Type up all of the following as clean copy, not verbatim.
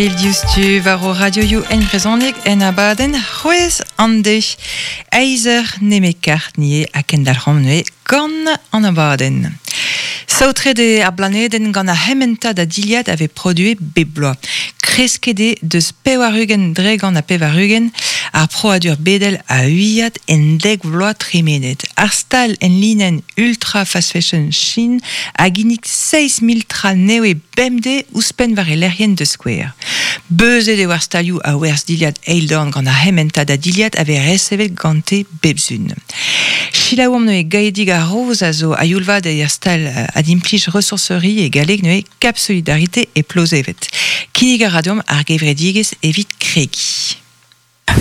Diouzhtu war o radioioù en brezhoneg en abadenn C'hwezh an deiz. Eizh nemet kart nie ha kendalc'homp neuze gant an abadenn. Saotret eo ar blanedenn gant ar c'hementad a dilhad a vez produet bep bloaz. Kresket eo deus 80% ar proadur bedel a uiad en dek vloaz tremenet. Ar stal en linenn Ultra Fast Fashion Shein a ginnig 6 000 tra nevez bemdez ouzhpenn war e lec'hienn da skouer. Beuzet eo ar stalioù a werzh dilhad eildorn gant ar c'hementad a dilhad a vez resevet gante bep sizhun. Selaouomp neuze Gaedig ar Roz a zo a-youl-vat er stal adimplij ressourcerie e galleg neuze Cap Solidarité e Plozeved. Kinnig a ra deomp ar gevredigezh evit kregiñ.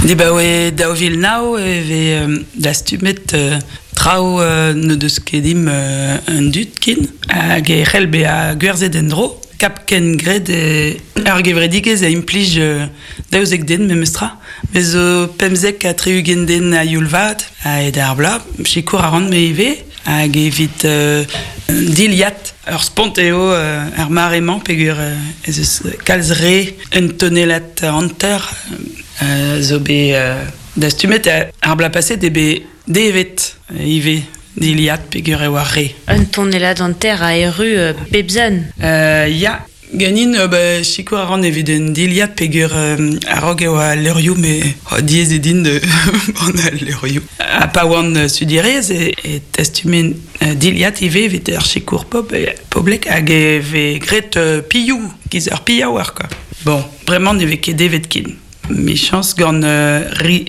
Dibaoe 2009 e vez dastumet traoù n'o deus ket im an dud ken hag e c'hell bezañ gwerzhet en-dro. Kap Kengred ar gevredigezh a implij 12 den memestra. Bez zo 75 den a youl vat a-hed ar bloaz. Sikour a ran me ivez hag evit dilhad ur spont eo ar mare-mañ peogwir ez eus kalz re un tonellad hanter zo bet dastumet ar bloaz paset eo bet devet ivez dilhad peogwir e oa re. Un tonellad hanter a erru bep sizhun. Ya, ganin ba, sikour a ran evit un dilhad peogwir a-raok eo al levrioù me diaes eo din gant al levrioù. Ha pa oan studierez e tastumen dilhad ivez evit ar sikour poblek hag e vez graet pilhoù, giz ur pilhaouer quoi. Bon, bremañ ne vez ket devet ken. Michañs gant